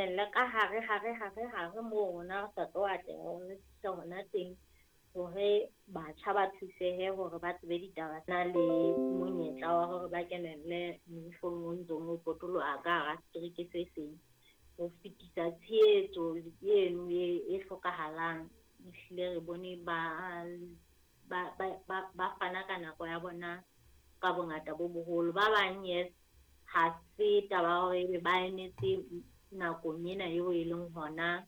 kenelle ka hare hare hare hare moo rona re sa tlo atleha hore re fihle hona teng, hore batjha ba thusehe hore ba tsebe ditaba na le monyetla wa hore ba kenelle moifong o ntsong o potoloha ka hara setereke se seng. Ho fetisa tshehetso eno e hlokahalang, ehlile re bone ba fana ka nako ya bona ka bongata bo boholo. Ba bang yes, ha se taba ya hore ebe ba emetse nakong ena eo e leng hona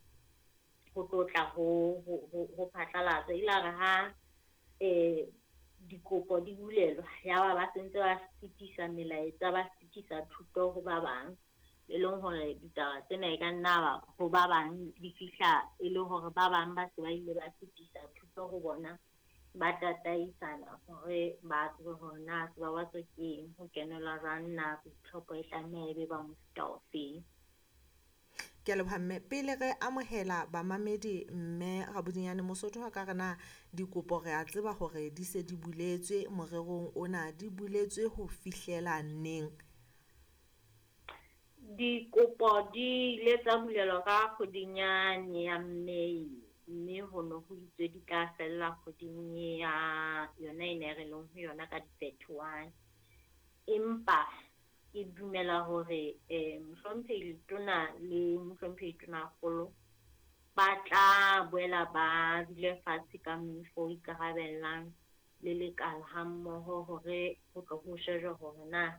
ho tlo tla ho phatlalatsa. Ile a re ha dikopo di bulelwa, ya ba sentse ba fetisa melaetsa, ba fetisa thuto ho ba bang, e leng hore ditaba tsena e ka nna ba ho ba bang di fihla e le hore ba bang ba se ba ile ba fetisa thuto ho bona, ba tataisana hore ba tsebe hore na Sebabatso ke eng, ho kenelwa jwang, na boitlhopho e tlameha e be ba mofuta ofeng. Ke a leboha mme. Pele re amohela bamamedi mme Rabodinyane, Mosotho wa ka re na dikopo re a tseba hore di se di buletswe morerong ona, di buletswe ho fihlela neng? Dikopo di ile tsa bulelwa ka kgweding yane ya May, mme ho no ho itswe di tla fella kgweding ya yona ena e re leng ho yona ka di-31. Empa ke dumela hore mohlomphehi Letona le mohlomphehi Tonakgolo ba tla boela ba dule fatshe ka moifo o ikarabellang le lekala ha mmoho hore ho tlo ho shejwe hore na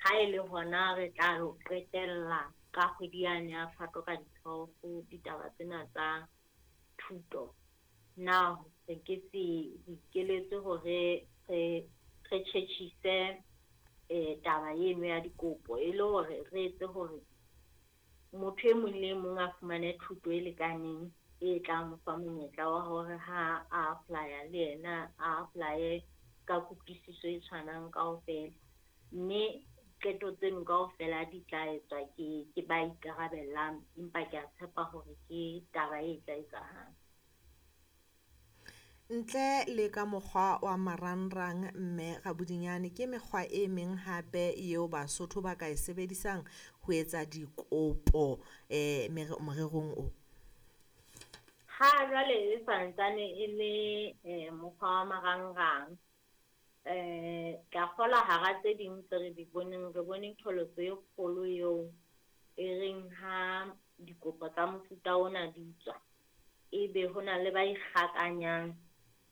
ha e le hona re tla lo qetella ka kgwedi yane ya Phato ka di-12 ditaba tsena tsa thuto. Na re ke se ikeletse hore re tjhetjhise taba eno ya dikopo e le hore re etse hore motho e mong le e mong a fumane thuto e lekaneng e tlang mo fa monyetla wa hore ha a apply-a le yena a apply-e ka kutlwisiso e tshwanang kaofela. Mme qeto tseno kaofela di tla etswa ke ba ikarabellang, empa ke a tshepa hore ke taba e tla etsahala. Ntle le ka mokgwa wa marangrang mme Rabodinyane, ke mekgwa e meng hape eo Basotho ba ka e sebedisang ho etsa dikopo morerong o? Ha jwale e santsane e le mokgwa wa marangrang. Ke a kgolwa hara tse ding tse re di boneng, re bone qholotso e kgolo eo e reng ha dikopo tsa mofuta ona di tswa, ebe hona le ba ikgakanyang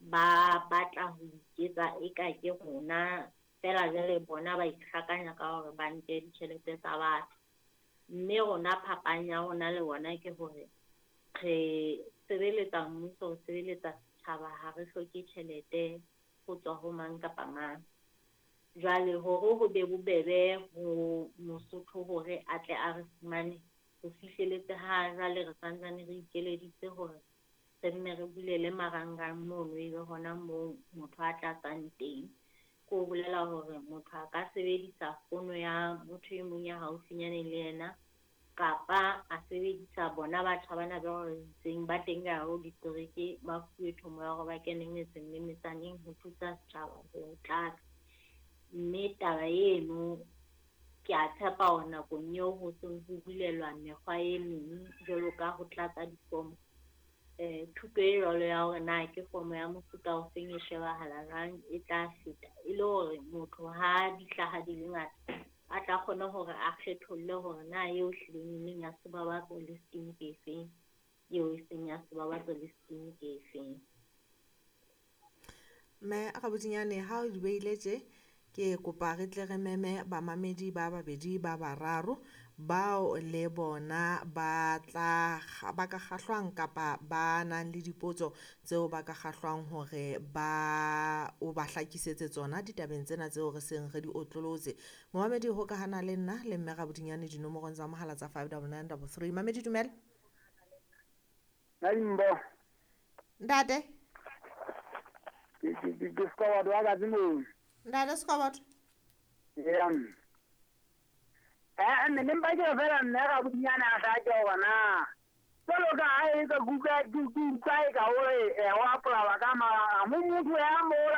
ba batla ho iketsa eka ke rona, feela jwale bona ba ikgakanya ka hore ba nke ditjhelete tsa batho. Mme rona phapang ya rona le bona ke hore re sebeletsa mmuso, re sebeletsa setjhaba, ha re hloke tjhelete ho tswa ho mang kapa mang. Jwale hore ho be bobebe ho Mosotho hore a tle a re fumane, ho fihleletse ha jwale re santsane re ikeleditse hore re nne re bulele marangrang mono, ebe hona moo motho a tlatsang teng. Ke ho bolela hore motho a ka sebedisa fono ya motho e mong ya haufinyane le yena, kapa a sebedisa bona batjha bana ba re itseng ba teng ka hare ho ditereke, ba fuwe thomo ya hore ba kene metseng le metsaneng ho thusa setjhaba ho tlatsa. Mme taba eno ke a tshepa hore nakong eo ho seng ho bulelwa mekgwa e meng jwalo ka ho tlatsa difomo, thuto e jwalo ya hore na ke fomo ya mofuta ofeng e shebahala jwang e tla feta, e le hore motho ha di hlaha di le ngata a tla kgone hore a kgetholle hore na eo hlileng e leng ya Sebabatso le scheme ke efeng, eo e seng ya Sebabatso le scheme ke efeng. Mme Rabodinyane, ha o di beile tje, ke kopa re tle re meme bamamedi ba babedi ba bararo bao le bona ba tla ba ka kgahlwang kapa ba nang le dipotso tseo ba ka kgahlwang hore ba o ba hlakisetse tsona ditabeng tsena tseo re seng re di otlolotse. Momamedi hokahana le nna le mme Rabodinyane dinomorong tsa mohala tsa 59933. Mamedi dumela. Naimbo. Ntate. Ke Sekoboto wa Katse moo. Ntate Sekoboto. Yeah. Mme ne mpa ke re fela mme Rabodinyane a hlake hore na jwalo ka ha e ka kuka ke utlwa e ka hore ho apolawa ka mara mo motho ya mola